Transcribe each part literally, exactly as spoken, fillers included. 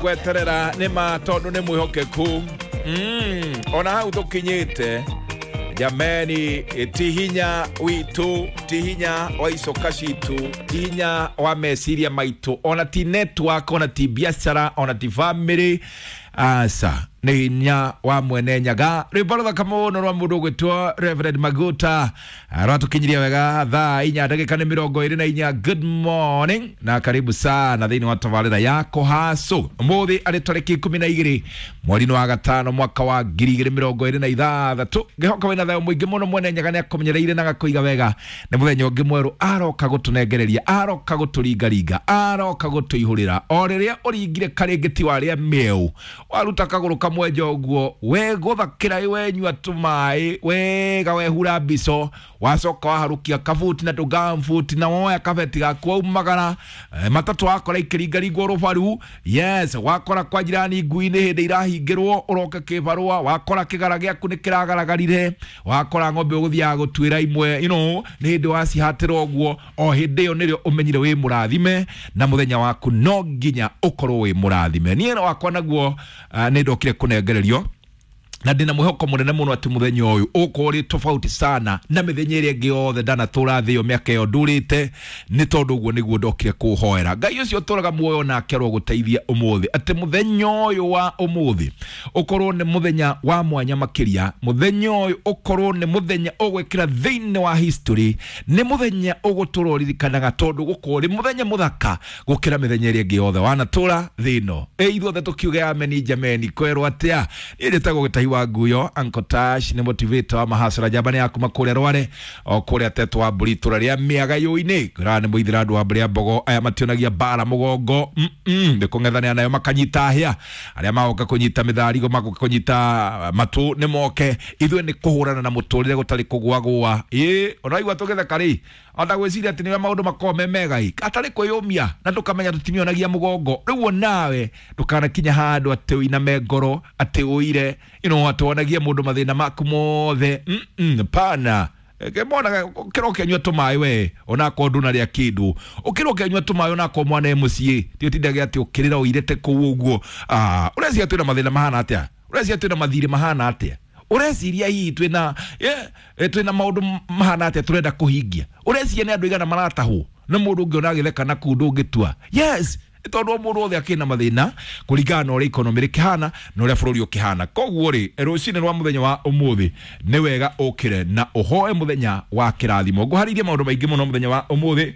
Gweterera nĩ ma tondũ nĩ mwĩhokeku. Mm, ona hau tũkinyĩte jameni, ti hinya witũ, ti hinya wa icoka citũ, ti hinya wa meciria maitũ, ona ti network, ona ti biacara, ona ti family, aca nĩ hinya wa mwene Nyaga. Rwĩmbo rũthaka mũno rwa mũndũ ũgwĩtwo Reverend Maguta rwatũkinyiria wega thaa inya ndagĩka nĩ mĩrongo ĩrĩ na inya. Good morning na karibu sana thĩinĩ wa tabarĩra ya Kũhacũ. Ũmũthĩ arĩ tarĩki ikũmi na igĩrĩ mweri-inĩ wa gatano mwaka wa ngiri igĩrĩ mĩrongo ĩrĩ na ithathatũ. Ngĩhoka wĩna thayũ mũingĩ mũno. Mwene Nyaga nĩ akũmenyereire na agakũiga wega. Nĩ mũthenya ũngĩ mwerũ aroka gũtũnengereria, aroka gũtũringaringa, aroka gũtũihũrĩra. O rĩrĩa ũringire karĩngĩti warĩa mĩeũ, waruta kagũrũ kamwe nja ũguo, wegũthakĩra, wenyua tũmaĩ wega, wehura mbico, wacoka waharũkia kabuti na tũgambuti na woya kabeti gaku waumagara, eh, matatũ wakora ikĩringaringwo rũbaru. Yes, wakora kwa jirani ngui nĩ hĩndĩ irahingĩrwo ũroke kĩbarũa, wakora kĩgara gĩaku nĩ kĩragaragarire, wakora ng'ombe ũgũthiaga gũtuĩra imwe you know, nĩ hĩndĩ wacihatĩra ũguo. O hĩndĩ ĩyo nĩrĩo ũmenyire wĩ mũrathime na mũthenya waku no nginya ũkorwo wĩ mũrathime. Niĩ wakwa naguo uh, nĩ ndokire kũnengererio na ndĩna mwĩhoko mũnene mũno atĩ mũthenya ũyũ ũkorwo ũrĩ tofauti sana na mĩthenya ĩrĩa ĩngĩ yothe ndanatũra thĩ ĩyo mĩaka ĩyo ndũrĩte, nĩ tondũ ũguo nĩguo ndokire kũhoera. Ngai ũcio ũtũraga muoyo nake arogũteithia ũmũthĩ atĩ mũthenya ũyũ wa ũmũthĩ ũkorwo nĩ mũthenya wa mwanya makĩria, mũthenya ũyũ ũkorwo nĩ mũthenya ũgwĩkĩra thĩinĩ wa history, nĩ mũthenya ũgũtũra ũririkanaga tondũ gũkorwo ũrĩ mũthenya mũthaka gũkĩra mĩthenya ĩrĩa ĩngĩ yothe wanatũra thĩ ĩno. Ĩ ithuothe tũkiuge ameni. Jameni, kwerwo atĩa? Niĩ njĩtagwo Gĩtahi wa Nguyo. Uncle Tash nĩ motivator wa mahasara njamba nĩ yakuma kũrĩa Rware o kũrĩa tetwo wa mbũri itũra rĩa Mĩagayũ-inĩ. Ngwĩraga nĩ mũithĩra andũ wa mbũrĩ ya mbogo aya mationagia mbara mũgongo, nĩ kũng'ethanĩra nayo makanyita hĩa. Arĩa magoka kũnyita mĩtharigo, magoka kũnyita matũ, nĩ moke, ithuĩ nĩ kũhũrana na mũtũrĩre gũtarĩ kũgwagũa. Ĩ ũraigua tũgĩtheka rĩ, ona gwĩciria atĩ nĩwe maũndũ makoragwo me mega ĩ atarĩ kwĩyũmia na ndũkamenya tũtimionagia mũgongo. Rĩu onawe ndũkanakinya handũ atĩ ũiname ngoro, atĩ ũire you know, atĩ wonagie mũndũ mathĩna maku mothe. mm -mm, pana monaga ũkĩra ũkĩnyua tũmaĩ we onakorwo ndũnarĩa kĩndũ, ũkĩra ũkĩnyua tũmaĩ onakorwo mwana e mũciĩ, ti ũtindage atĩ ũkĩrĩra ũirĩte kũu ũguo. Ah, ũreciria twĩna mathĩna mahana atĩa? Ũreciria twĩna mathirĩ mahana atĩa? Ũreciria hihi twĩna yeah, twĩna maũndũ mahana atĩa tũrenda kũhingia? Ũreciria nĩ andũ igana maratahwo na mũndũ ũngĩona agĩtheka na kũu ndũngĩtua? Yes, nĩ tondũ o mũndũ wothe akĩna mathĩna kũringana na ũrĩa economy rĩkĩhana na ũrĩa bũrũri ũkĩhana. Koguo rĩ, rũcinĩ rwa mũthenya wa ũmũthĩ nĩ wega ũkĩre na ũhoe mũthenya wa kĩrathimo. Ngũharĩirie maũndũ maingĩ mũno mũthenya wa ũmũthĩ.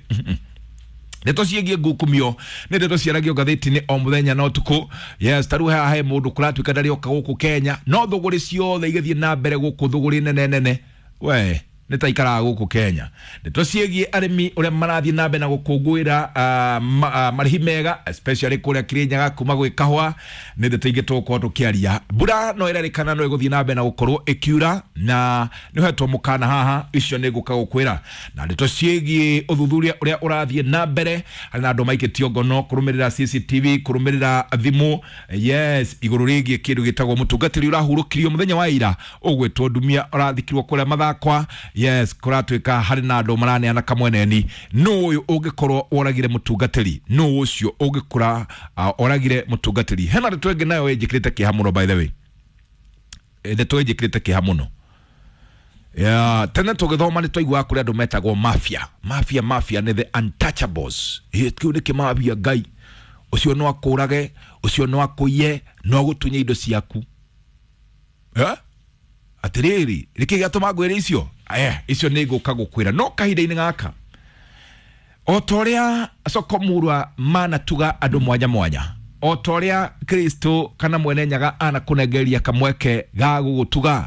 Ndeto ciĩgiĩ ngukumio nĩ ndeto ciaragio ngathĩti-inĩ o mũthenya na ũtukũ. Yes, ta rĩu haha he mũndũ kũratuĩka ndarĩoka gũkũ Kenya, no thũgũrĩ ciothe igĩthiĩ na mbere gũkũ, thũgũrĩ nene nene, we nĩ ta ikaraga gũkũ Kenya. Ndeto ciĩgiĩ arĩmi ũrĩa marathiĩ na mbere na gũkũngũĩra uh, ma, uh, marĩhi mega, especially kũrĩa Kirinyaga kuma gwĩ kahũa, nĩ ndeto ingĩ tũgũkorwo tũkĩaria. Mbura no ĩrerĩkana no ĩgũthiĩ na mbere na gũkorwo ĩkiura na nĩ ũhetwo mũkana haha, icio nĩ ngũka gũkwĩra. Na ndeto ciĩgiĩ ũthuthuria ũrĩa ũrathiĩ na mbere harĩ na andũ maikĩtio ngono kũrũmĩrĩra C C T V, kũrũmĩrĩra thimũ, yes, igũrũ rĩgiĩ kĩndũ gĩtagwo mũtungatĩri ũrahurũkirio mũthenya wa ira ũgwĩtwo Ndumia ũrathikirwo kũrĩa Mathakwa. Yes, kũratuĩka harĩ na andũ maraneana kamweneni nũ ũyũ ũngĩkorwo woragire mũtungatĩri, nũ ũcio ũngĩkora uh, oragire mũtungatĩri. Hena ndeto ĩngĩ nayo ĩnjĩkĩrĩte kĩeha mũno, by the way. Eh, ndeto ĩnjĩkĩrĩte kĩeha mũno. Yeah, tene tũgĩthoma nĩ twaiguaga kũrĩ andũ metagwo mafia. Mafia, mafia nĩ the untouchables. Ĩ, kĩu nĩ kĩmafia. Ngai ũcio no akũrage, ũcio no akũiye, no agũtunye indo ciaku. Eh? Atĩrĩrĩ, nĩkĩ gĩatũma ngwĩre icio? Eh, icio nĩ ngũka gũkwĩra no kahinda-inĩ gaka o ta ũrĩa Sokomurwa manatuga andũ mwanya mwanya, o ta ũrĩa Kristo kana mwene Nyaga anakũnengereria kamweke ga gũgũtuga,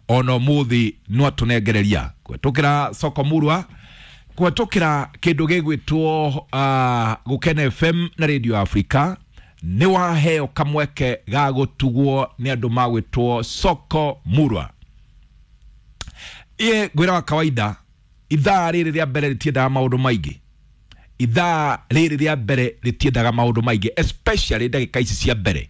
ona ũmũthĩ no atũnengereria kũhetũkĩra Sokomurwa, kũhetũkĩra kĩndũ gĩgwĩtwo uh, Gũkena F M na Radio Africa. Nĩ waheo kamweke ga gũtugwo nĩ andũ magwĩtwo Soko Murwa. Iye ngwĩra wa kawaida, ithaa rĩrĩ rĩa mbere rĩtiendaga maũndũ maingĩ. Ithaa rĩrĩ rĩa mbere rĩtiendaga maũndũ maingĩ, especially ndagĩka ici cia mbere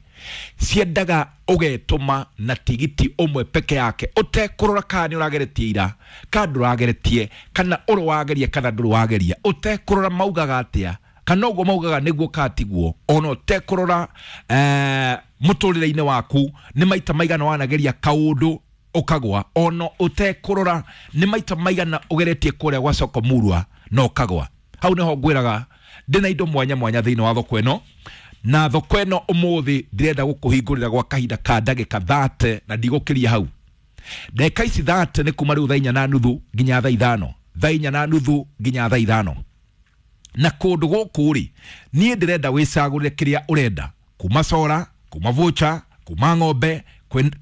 ciendaga ũgetũma na tigiti ũmwe peke yake, ũtekũrora kana nĩ ũrageretie ira kana ndũrageretie, kana ũrĩ wageria kana ndũrĩ wageria, ũtekũrora maugaga atĩa. Kana ũguo maugaga nĩguo katiguo ona ũtekũrora eh, mũtũrĩre-inĩ waku nĩ maita maigana wanageria kaũndũ ũkagwa, ona ũtekũrora nĩ maita maigana ũgeretie kũrĩa gwa soko murwa na ũkagwa. Hau nĩho ngwĩraga ndĩna indo mwanya mwanya thĩinĩ wa thoko ĩno, na thoko ĩno ũmũthĩ ndĩrenda gũkũhingũrĩra gwa kahinda ka ndagĩka thate na ndigũkĩria hau. Ndagĩka ici thate nĩ kuma rĩu thaa inya na nuthu nginya thaa ithano, thaa inya na nuthu nginya thaa ithano. Na kũndũ gũkũ rĩ, niĩ ndĩrenda wĩcagũrĩre kĩrĩa ũrenda, kuma sora, kuma voucher, kuma ng'ombe,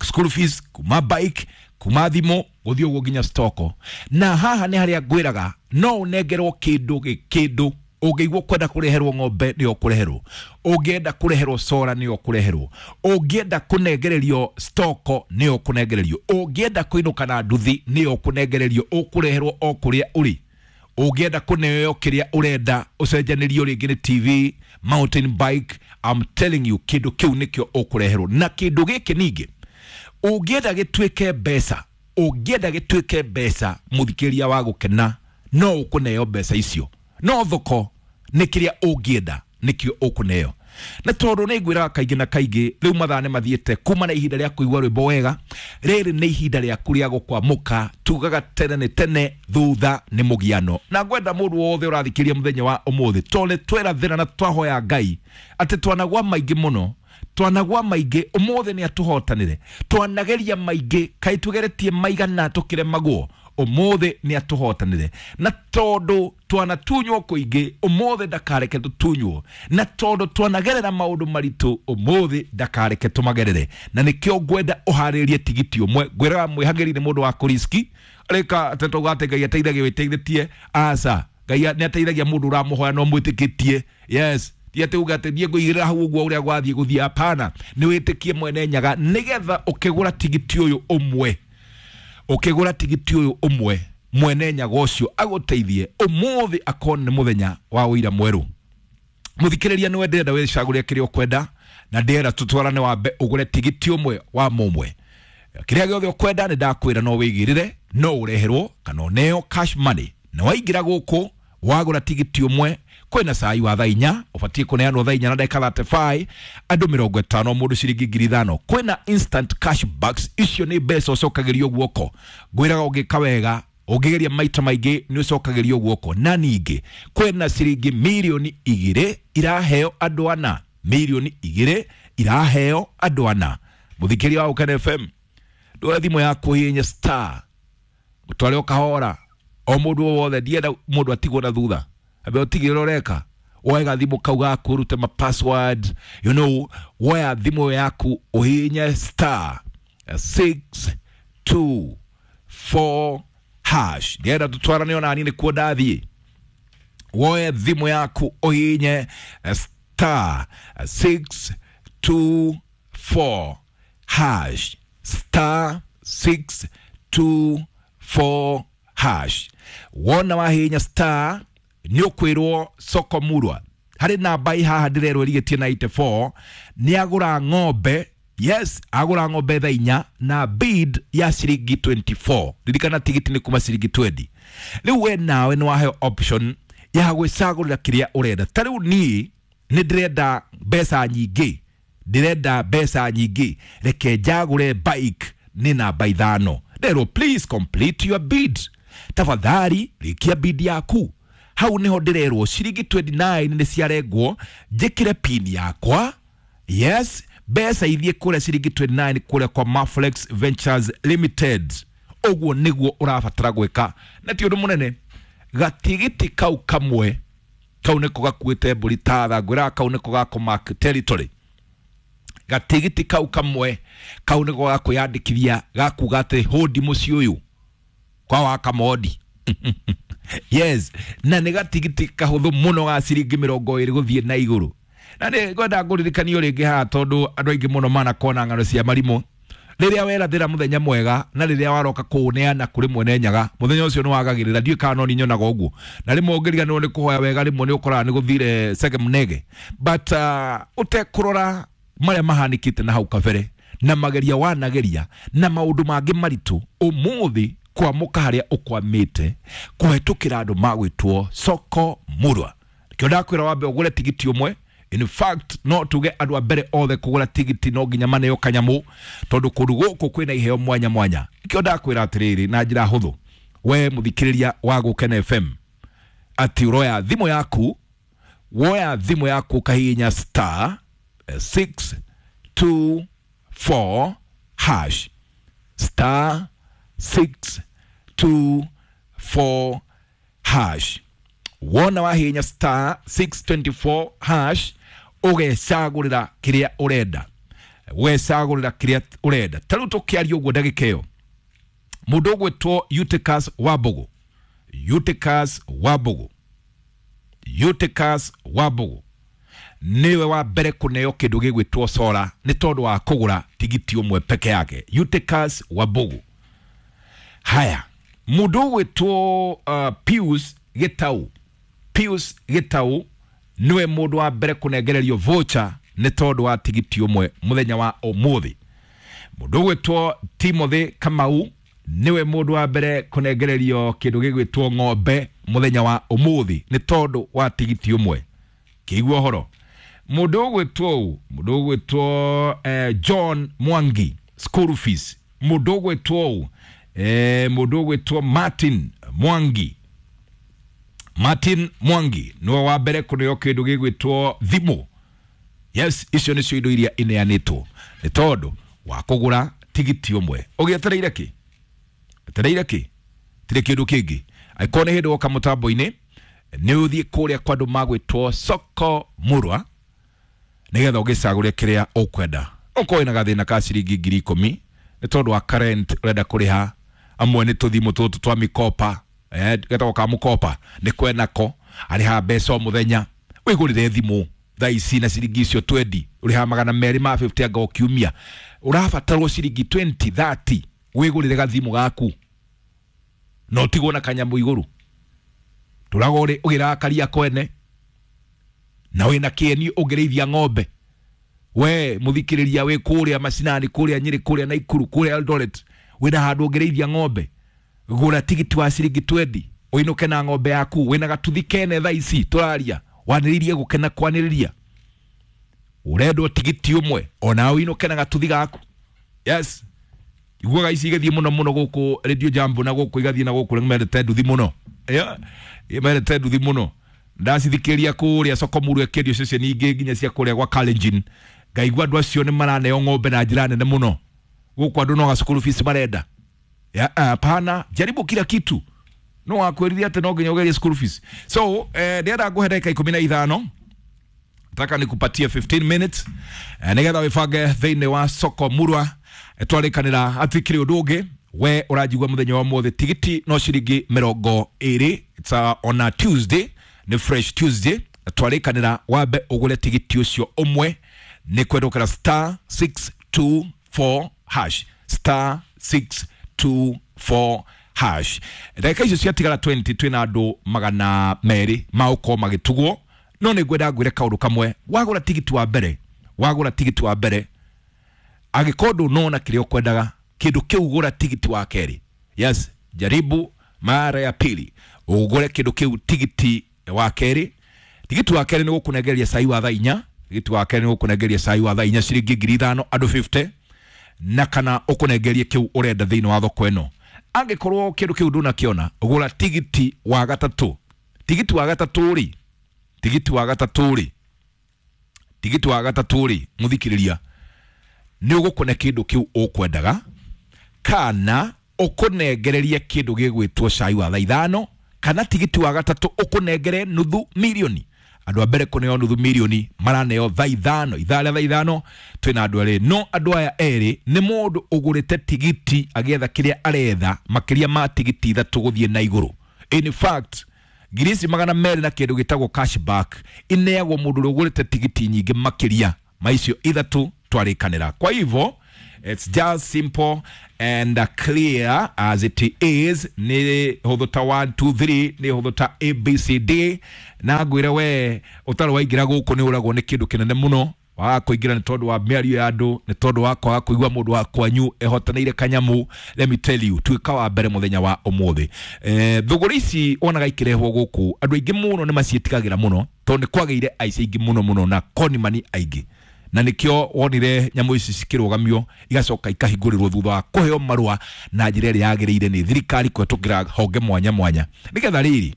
school fees, kuma bike, kuma thimũ, gũthiĩ ũguo nginya stoko. Na haha nĩ harĩa ngwĩraga no ũnengerwo kĩndũ gĩkĩndũ. Ũngĩigua kwenda kũreherwo ng'ombe nĩ ũkũreherwo, ũngĩenda kũreherwo sora nĩ ũkũreherwo, ũngĩenda kũnengererio stoko nĩ ũkũnengererio, ũngĩenda kũinũka na nduthi nĩ ũkũnengererio, ũkũreherwo o kũrĩa ũrĩ. Ũngĩenda kũneo kĩrĩa ũrenda ũcenjanĩrio rĩngĩ nĩ T V, mountain bike, I'm telling you kĩndũ kĩu nĩkĩo ũkũreherwo. Na kĩndũ gĩkĩ ningĩ ũngĩenda gĩtuĩke mbeca, ũngĩenda gĩtuĩke mbeca mũthikĩria wa gũkena no ũkũneo mbeca icio, no thoko nĩ kĩrĩa ũngĩenda nĩkĩo ũkũneo. Na tondũ nĩ ngwĩraga kaingĩ na kaingĩ rĩu mathaa nĩ mathiĩte kuma na ihinda rĩa kũigua rwĩmbo wega, rĩrĩ nĩ ihinda rĩaku rĩa gũkwamũka. Tugaga tene nĩ tene, thutha nĩ mũgiano. Na ngwenda mũndũ wothe ũrathikĩria mũthenya wa ũmũthĩ, tondũ nĩ twerathĩra na twahoya Ngai atĩ twanagwa maingĩ mũno, twanagwa maingĩ, ũmũthĩ nĩ atũhotanĩre. Twanageria maingĩ, kaĩ tũgeretie maigana tũkĩremagwo, ũmũthĩ nĩ atũhotanĩre. Na tondũ twanatunywo kũingĩ, ũmũthĩ ndakareke tũtunywo. Na tondũ twanagerera maũndũ maritũ, ũmũthĩ ndakareke tũmagerere. Na nĩkĩo ngwenda ũharĩrie tigiti ũmwe. Ngwĩraga mwĩhagĩri nĩ mũndũ wa kũriski, rĩka atĩ tauga atĩ Ngai ateithagia wĩteithĩtie, aca. Ngai nĩ ateithagia mũndũ ũramũhoya na ũmwĩtĩkĩtie. Yes, ti atĩ uga atĩ niĩ ngũigĩrĩra hau ũguo ũrĩa gwathiĩ gũthiĩ, hapana. Nĩ wĩtĩkie mwene Nyaga nĩgetha ũkĩgũra tigiti ũyũ ũmwe, ũkĩgũra tigiti ũyũ ũmwe, mwene Nyaga ũcio agũteithie ũmũthĩ akorwo nĩ mũthenya wa ũira mwerũ. Mũthikĩrĩria nĩwe ndĩrenda wĩcagũre kĩrĩa ũkwenda, na ndĩrenda tũtwarane wambe ũgũre tigiti ũmwe wa mũmwe. Kĩrĩa gĩothe ũkwenda nĩ ndakwĩra no wĩigĩrĩre, no ũreherwo kana ũneo cash money. Na waingĩra gũkũ wagũra tigiti ũmwe, kwĩna cai wa thaa inya, ũbatiĩ kũneanwo thaa inya na ndagĩka thirty-five, andũ mĩrongo ĩtano mũndũ ciringi ngiri ithano. Kwĩna instant cash backs, icio nĩ mbeca ũcokagĩrio guoko. Ngwĩraga ũngĩka wega, ũngĩgeria maita maingĩ nĩ ũcokagĩrio guoko. Na ningĩ kwĩna ciringi mirioni igĩrĩ iraheo andũ ana, mirioni igĩrĩ iraheo andũ ana. Mũthikĩria wa Gũkena F M, ndũe thimũ yaku hihinya star ũtware ũkahora o mũndũ o wothe, ndienda mũndũ atigwo na thutha. Ambe ũtigĩrĩre ũreka woe gathimũ kau gaku ũrute ma password, you know, woya thimũ yaku ũhihinye star six two four hash. Ndienda tũtwarane ona niĩ nĩkuo ndathiĩ. Woe thimũ yaku ũhihinye star six two four hash, star six two four hash. Wona wahihinya star nĩ ũkwĩrwo soko murwa. Harĩ namba ĩ haha ndĩrerwo ĩrigĩtie na eighty-four, nĩ agũra ng'ombe. Yes, agũra ng'ombe thaa inya na bid ya ciringi twenty-four. Ririkana tigiti nĩ kuma ciringi twenty. Rĩu we nawe nĩ waheo option ya gwĩcagũrĩra kĩrĩa ũrenda. Ta rĩu niĩ nĩ ndĩrenda mbeca nyingĩ, ndĩrenda mbeca nyingĩ, reke njagũre bike nĩ namba ithano. Nderwo please complete your bid, tafadhali rĩkia bid yaku. Hau niho ndĩrerwo ciringi twenty-nine nĩ ciarengwo, njĩkĩre pin yakwa. Yes, mbeca ithiĩ kũrĩa ciringi twenty-nine kũrĩa kwa Maflex Ventures Limited. Ũguo nĩguo ũrabatara gwĩka, na ti ũndũ mũnene. Gatigiti kau kamwe kau nĩko gakuĩte mbũri tatha, ngwĩraga kau nĩko gakũmark territory. Gatigiti kau kamwe kau nĩko gakwĩyandĩkithia gakuga atĩ hũndi mũciĩ ũyũ kwa wakamodi. Yes, na nĩ gatigiti kahũthũ mũno ga ciringi mĩrongo ĩrĩ gũthiĩ na igũrũ. Na nĩ ngwenda ngũririkanio rĩngĩ haha, tondũ andũ aingĩ mũno manakorwo ng'ano cia marimũ. Rĩrĩa werathĩra mũthenya mwega na rĩrĩa waroka kũũneana kũrĩ mwene Nyaga, mũthenya ũcio nĩ wagagĩrĩra. Ndiũĩ kana no niĩ nyonaga ũguo. Na rĩmwe ũngĩriganĩrwo nĩ kũhoya wega, rĩmwe nĩ ũkoraga nĩ gũthire sege mnege. But uh, ũtekũrora marĩa mahanĩkĩte na hau kabere na mageria wanageria na maũndũ mangĩ maritũ, ũmũthĩ kwamũka harĩa ũkwamĩte kũhetũkĩra andũ magwĩtwo soko murwa. Kĩo ndakwĩra wambe ũgũre tigiti ũmwe. In fact, no tuge andũ a mbere othe kũgũra tigiti no nginya maneo kanyamũ, tondũ kũndũ gũkũ kwĩna iheo mwanya mwanya. Kĩo ndakwĩra atĩrĩrĩ na njĩra hũthũ, we mũthikĩrĩria wa Gũkena F M, atĩ ũroya thimũ yaku, woya thimũ yaku ũkahihinya star six two four hash, star six two four hash. Wona wahihinya star six twenty-four hash, ũgecagũrĩra kĩrĩa ũrenda, ũgecagũrĩra kĩrĩa ũrenda. Ta rĩu tũkĩaria ũguo ndagĩka ĩyo, mũndũ ũgwĩtwo Eutychus Wambugu, Eutychus Wambugu, Eutychus Wambugu niwe wa mbere kũneo kĩndũ gĩgwĩtwo sora nĩ tondũ wa kũgũra tigiti ũmwe peke yake. Eutychus Wambugu. Haya, mũndũ ũgwĩtwo uh, Pius Gitau, Pius Gitau niwe mũndũ wa mbere kũnengererio voucher nĩ tondũ wa tigiti ũmwe mũthenya wa ũmũthĩ. Mũndũ ũgwĩtwo Timothy Kamau niwe mũndũ wa mbere kũnengererio kĩndũ gĩgwĩtwo ng'ombe mũthenya wa ũmũthĩ nĩ tondũ wa tigiti ũmwe. Kĩigua ũhoro. Mũndũ ũgwĩtwo ũũ, mũndũ ũgwĩtwo eh, John Mwangi school fees. Mũndũ ũgwĩtwo ũũ, eh, mũndũ ũgwĩtwo Martin Mwangi, Martin Mwangi niwe wa mbere kũneo kĩndũ gĩgwĩtwo thimũ. Yes, icio nĩcio indo iria ineanĩtwo nĩ tondũ wa kũgũra tigiti ũmwe. Ũgĩetereire kĩ? Etereire kĩ? Tirĩ kĩndũ kĩngĩ. Angĩkorwo nĩ hĩndĩ woka mũtambo-inĩ, nĩ ũthiĩ kũrĩa kwa andũ magwĩtwo Soko Murwa nĩgetha ũgĩcagũre kĩrĩa ũkwenda. Ũkorwo wĩna gathĩna ka ciringi ngiri ikũmi nĩ tondũ wa current ũrenda kũrĩha, amwe nĩ tũthimũ tũtũ twa mikopa, eh, getagwo ka mũkopa, nĩ kwenako, arĩhaga mbeca o mũthenya. Wĩgũrĩre thimũ thaa ici na ciringi icio twendi, ũrĩhaga magana merĩ ma fifty anga o kiumia. Ũrabatarwo ciringi twenty, thirty wĩgũrĩre gathimũ gaku na ũtigwo na kanyamũ igũrũ. Tũragwo ũrĩ ũgĩrakaria kwene na wĩna kĩeni ũngĩrĩithia ng'ombe. We mũthikĩrĩria wĩ kũrĩa macinani, kũrĩa Nyĩrĩ, kũrĩa Naikuru, kũrĩa Eldoret, wĩna handũ ũngĩrĩithia ng'ombe, gũra tigiti wa ciringi twendi ũinũke na ng'ombe yaku. Wĩna gatuthi kene thaa ici tũraria, wanĩrĩrie gũkena kwanĩrĩria, ũrendwo tigiti ũmwe ona ũinũke na gatuthi gaku. Yes, iguaga ici igathiĩ mũno mũno gũkũ Radio Jambo na gũkũ igathiĩ na gũkũ, mendete nduthi mũno. Yeah, mendete nduthi mũno. Ndacithikĩria kũrĩa Soko Murwa ĩkĩendio ceceni ingĩ nginya cia kũrĩa gwa Kalenjin, ngaigua andũ acio nĩ maraneo ng'ombe na njĩra nene mũno. Gũkũ andũ no ga school fees marenda. Hapana, jaribu kila kitu. No wakwĩrire atĩ no nginya ũgerie school fees. So, eh, ndĩrenda ngũhe ndagĩka ikũmi na ithano, nataka nikupatie fifteen minutes, eh, nĩgetha wĩbange thĩinĩ wa Soko Murwa. Twarĩkanĩra hatikĩrĩ ũndũ ũngĩ. We ũranjigua mũthenya wa ũmũthĩ, tigiti no ciringi mĩrongo ĩrĩ. It's a, on a Tuesday, nĩ fresh Tuesday. Twarĩkanĩra wambe ũgũre tigiti ũcio ũmwe nĩ kwendũkĩra star six two four hash, star six two four hash. Ndagĩka icio ciatigara twenty, twĩna andũ magana merĩ magũkorwo magĩtugwo. No nĩ ngwenda ngwĩre kaũndũ kamwe. Wagũra tigiti wa mbere, wagũra tigiti wa mbere, angĩkorwo ndũnona kĩrĩa ũkwendaga, kĩndũ kĩu gũra tigiti wa kerĩ. Yes, jaribu mara ya pili ũgũre kĩndũ kĩu tigiti wa kerĩ. Tigiti wa kerĩ nĩ gũkũnengeria cai wa thaa inya, tigiti wa kerĩ nĩ gũkũnengeria cai wa thaa inya ciringi ngiri ithano andũ fifty, na kana ũkũnengerie kĩu ũrenda thĩinĩ wa thoko ĩno. Angĩkorwo kĩndũ kĩu ndũnakĩona, gũra tigiti wa gatatũ. Tigiti wa gatatũ rĩ, tigiti wa gatatũ rĩ, tigiti wa gatatũ rĩ, mũthikĩrĩria, nĩ ũgũkũne kĩndũ kĩu ũkwendaga, kana ũkũnengererie kĩndũ gĩgwĩtwo cai wa thaa ithano, kana tigiti wa gatatũ ũkũnengere nuthu mirioni. Andũ a mbere kũneo nuthu mirioni maraneo thaa ithano, ithaa rĩa thaa ithano twĩna andũ erĩ. No andũ aya erĩ nĩ mũndũ ũgũrĩte tigiti agĩetha kĩrĩa aretha makĩria ma tigiti ithatũ gũthiĩ na igũrũ. In fact, ngiri ici magana merĩ na kĩndũ gĩtagwo cashback ineagwo mũndũ ũrĩa ũgũrĩte tigiti nyingĩ makĩria ma icio ithatũ twarĩkanĩra. Kwa hivyo it's just simple and clear as it is. Nĩ hũthũ ta one two three, nĩ hũthũ ta A B C D. Na ngwĩre we ũtarĩ waingĩra gũkũ nĩ ũragwo nĩ kĩndũ kĩnene mũno. Waga kũingĩra nĩ tondũ wa mĩario ya andũ, nĩ tondũ wa kwaga kũigua mũndũ wa kwanyu ehotanĩire kanyamu. Let me tell you, tuĩka wa mbere mũthenya wa ũmũthĩ. Eh, thũgũrĩ ici wonaga ikĩrehwo gũkũ, andũ aingĩ mũno nĩ maciĩtigagĩra mũno tondũ nĩ kwagĩire aici aingĩ mũno mũno na konimani aingĩ, na nĩkĩo wonire nyamũ ici cikĩrũgamio igacoka ikahingũrĩrwo thutha wa kũheo marũa na njĩra ĩrĩa yagĩrĩire nĩ thirikari kũhetũkĩra honge mwanya mwanya, nĩgetha rĩrĩ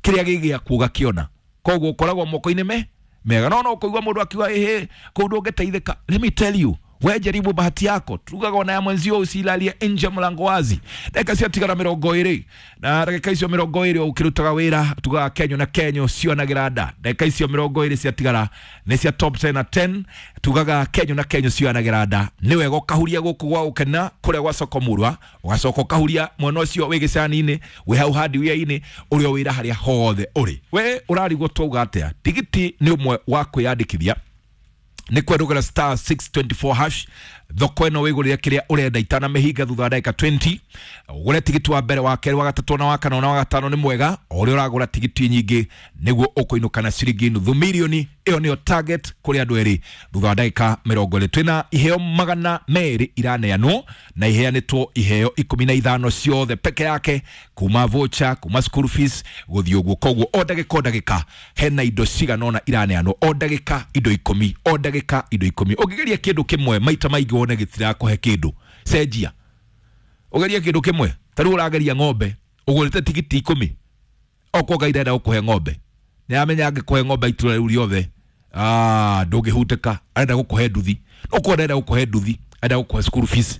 kĩrĩa gĩ gĩaku ũgakĩona. Koguo ũkoragwo moko-inĩ me mega. No no kũigua mũndũ akiuga ĩhĩ kũu ndũngĩteithĩka. Let me tell you, we jaribu bahati yako, tugaga ona ya mwenzio usilalie nje mlango wazi. Dakika ciatigara mĩrongo ĩrĩ na ndagĩka icio mĩrongo ĩrĩ ũkĩrutaga wĩra, tugaga kenyo na kenyo cionagĩra nda. Ndagĩka icio mĩrongo ĩrĩ ciatigara nĩ cia top ten na ten, tugaga kenyo na kenyo cionagĩra nda. Nĩ wega ũkahuria gũkũ gwa gũkena kũrĩa gwa soko murwa, ũgacoka ũkahuria mwena ũcio wĩ gĩcani-inĩ, wĩ hau hardware-inĩ, ũrĩa wĩra harĩa hothe ũrĩ. We ũrarigwo twauga atĩa? Tigiti nĩ ũmwe wa kwĩyandĩkithia nĩ kwendũgĩra star six twenty-four hash. Thoko ĩno wĩgũrĩre kĩrĩa ũrenda itanamĩhinga thutha wa ndagĩka twenty. Ũgũre tigiti wa mbere, wa kerĩ, wa gatatũ na wa kana na wa gatano nĩ mwega. O ũrĩa ũragũra tigiti nyingĩ nĩguo ũkũinũka na ciringi nuthu mirioni. Ĩyo nĩyo target kũrĩ andũ erĩ thutha wa ndagĩka mĩrongo ĩrĩ. Twĩna iheo magana merĩ iraneanwo na iheanĩtwo iheo ikũmi na ithano ciothe peke yake, kuma voucher, kuma school fees gũthiĩ ũguo. Koguo o ndagĩka o ndagĩka hena indo cigana ũna iraneanwo, o ndagĩka indo ikũmi, o ndagĩka indo ikũmi. Ũngĩgeria kĩndũ kĩmwe maita maingĩ wone gĩtirakũhe kĩndũ, cenjia ũgerie kĩndũ kĩmwe. Ta rĩu ũrageria ng'ombe, ũgũrĩte tigiti ikũmi, okorwo Ngai ndarenda gũkũhe ng'ombe, nĩaramenya angĩkũhe ng'ombe itũra rĩu rĩothe, ah, ndũngĩhutĩka. Arenda gũkũhe nduthi, okorwo ndarenda gũkũhe nduthi, arenda gũkũhe school fees.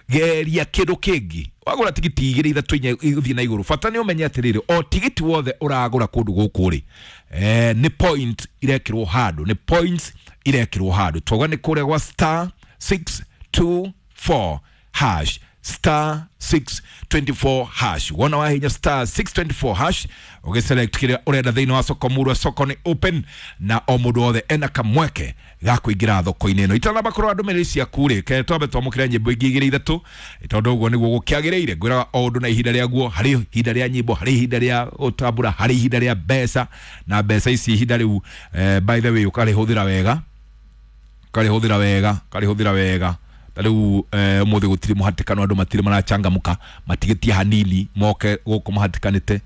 Geria kĩndũ kĩngĩ. Wagũra tigiti igĩrĩ ithatũ inya ũthiĩ na igũrũ. Bata nĩ ũmenye atĩrĩrĩ, o tigiti wothe ũragũra kũndũ gũkũ rĩ, eh, nĩ point irekĩrwo handũ, nĩ points irekĩrwo handũ. Twauga nĩ kũrĩa gwa star six two four hash, star six twenty-four hash. Wona wahinya star six twenty-four hash ũgĩselect kĩrĩa ũrenda thĩinĩ wa soko murwa. Soko nĩ open na o mũndũ wothe ena kamweke ga kũingĩra thoko-inĩ ĩno. Itanamba kũrora ndũmĩrĩri ciaku rĩ, ke twambe twamũkĩre nyĩmbo ingĩ igĩrĩ ithatũ, tondũ ũguo nĩguo gũkĩagĩrĩire. Ngwĩraga o ũndũ na ihinda rĩaguo, harĩ ihinda rĩa nyĩmbo, harĩ ihinda rĩa gũtambũra, harĩ ihinda rĩa mbeca, na mbeca ici ihinda rĩu, eh, by the way ũkarĩhũthĩra wega, ũkarĩhũthĩra wega, ũkarĩhũthĩra wega. Ta rĩu ũmũthĩ gũtirĩ mũhatĩkano, andũ matirĩ marachangamũka, matigĩtie hanini moke gũkũ mahatĩkanĩte.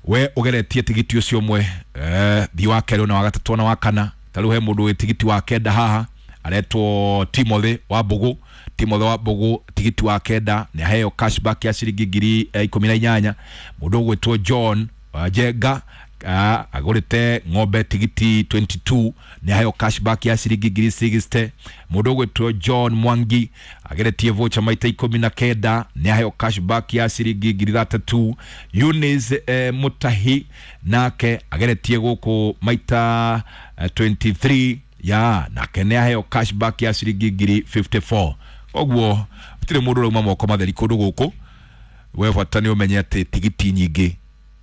We ũgeretie tigiti ũcio ũmwe, eh, thiĩ wa kerĩ na wa gatatũ na wa kana. Ta rĩu he mũndũ wĩ tigiti wa kenda haha aretwo Timothy wa Mbũgũ. Timothy wa Mbũgũ tigiti wa kenda nĩ aheo cashback ya ciringi ngiri ikũmi na inyanya. Mũndũ ũgwĩtwo John wa Njenga agũrĩte ng'ombe tigiti twenty-two nĩ aheo cashback ya ciringi ngiri sixty. Mũndũ ũgwĩtwo John Mwangi ageretie voucher maita ikũmi na kenda nĩ aheo cashback ya ciringi ngiri ithathatũ. Eunice eh, Mutahi nake ageretie gũkũ maita eh, twenty-three ya nake nĩ aheo cashback ya ciringi ngiri fifty-four. Koguo gũtirĩ mũndũ ũrauma moko matheri kũndũ gũkũ. We bata nĩ ũmenye atĩ tigiti nyingĩ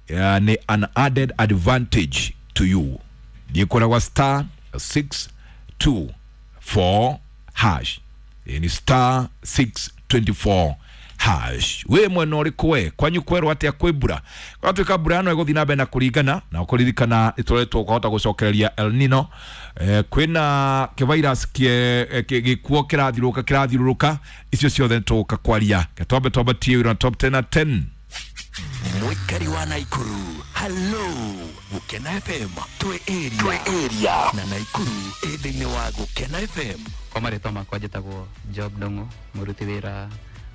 ya, ni an added advantage to you. Thiĩ kũrĩa gwa star six two four hash. Ni star six twenty-four hash. We mwena ũrĩkũ we kwanyu kwerwo atĩa kwĩ mbura? Kwatuĩka mbura ĩno ĩgũthiĩ na mbere na kũringana na ũkũririkana ĩtũretwo ũkahota gũcokereria El Nino. Eh, kwĩna kĩvirus gĩkuo kĩrathiũrũrũka kĩrathiũrũrũka, icio ciothe nĩtũgũka kwaria. Twambe twambatie wĩra top ten na ten. Mwikari wa Naikuru, hello Gukena F M, twe area, twe area na Naikuru ĩ thĩinĩ wa Gukena F M. Kwa marĩtwa makwa njĩtagwo Job Ndung'u, mũruti wĩra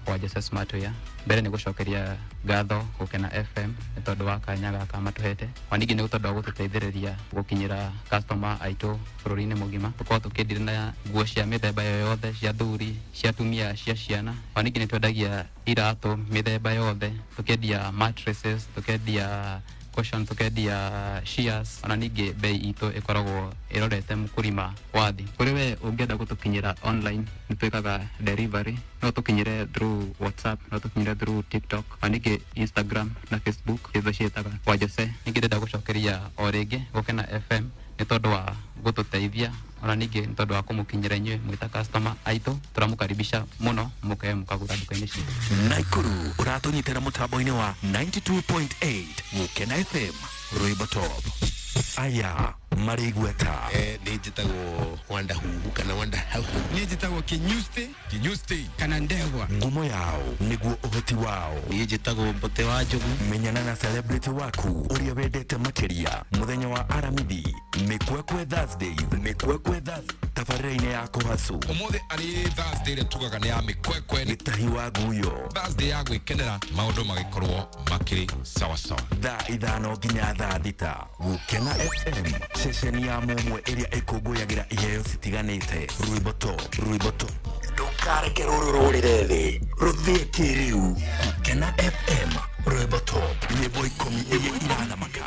wa Jose Smart Wear. Mbere nĩ gũcokeria ngatho Gukena F M nĩ tondũ wa kanya gaka matũhete, ona ningĩ nĩ tondũ wa gũtũteithĩrĩria gũkinyĩra customer aitũ bũrũri-inĩ mũgima. Tũkoragwo tũkĩendia na nguo cia mĩthemba yothe, cia athuri, cia atumia, cia ciana. Ona ningĩ nĩ twendagia iratũ mĩthemba yothe, tũkendia mattresses, tũkendia cushion, tũkendia shears. Ona ningĩ bei itũ ĩkoragwo ĩrorete mũkũrima wa thĩ. Kũrĩ we ũngĩenda gũtũkinyĩra online, nĩ twĩkaga delivery, no tũkinyĩre through WhatsApp, no tũkinyĩre through TikTok, ona ningĩ Instagram na Facebook, itho ciĩtaga kwa Jose. Ningĩ ndĩrenda gũcokeria o rĩngĩ Gukena F M nĩ tondũ wa gũtũteithia, ona ningĩ nĩ tondũ wa kũmũkinyĩra inyuĩ mwĩ ta customer aitũ. Tũramũkaribisha mũno mũke mũkagũra nduka-inĩ citũ. Naikuru ũratũnyitĩra mũtambo-inĩ wa ninety-two point eight Gukena F M, Rwĩmbo Top. Aya Marĩ igweta. Eh, nĩ njĩtagwo Wanda Huhu kana Wanda Hauhu. Niĩ njĩtagwo Kinyusti Kinyusti kana Ndegwa. Ngumo yao nĩguo ũhoti wao. Niĩ njĩtagwo Mbote wa Njogu. Menyana na celebrity waku ũrĩa wendete makĩria mũthenya wa Aramithi, Mĩkwekwe Thursdays, Mĩkwekwe Thursdays, tabarĩra-inĩ ya Kũhacu. Ũmũthĩ arĩ Thursday ĩrĩa tugaga nĩ ya mĩkwekwe, nĩ Gĩtahi wa Guyo. Thursday ya gwĩkenera maũndũ magĩkorwo makĩrĩ sawasawa. Thaa ithano nginya thaa thita. Gũkena F M, ceceni ya mũmwe ĩrĩa ĩkũngũyagĩra iheo citiganĩte. Rwĩmbo top, rwĩmbo top. Ndũkareke rũrũ rũrĩre thĩ, rũthiĩ kĩrĩu. Gũkena F M, rwĩmbo top, nyĩmbo ikũmi iria irathamaka.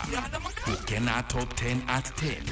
Gũkena top ten at ten.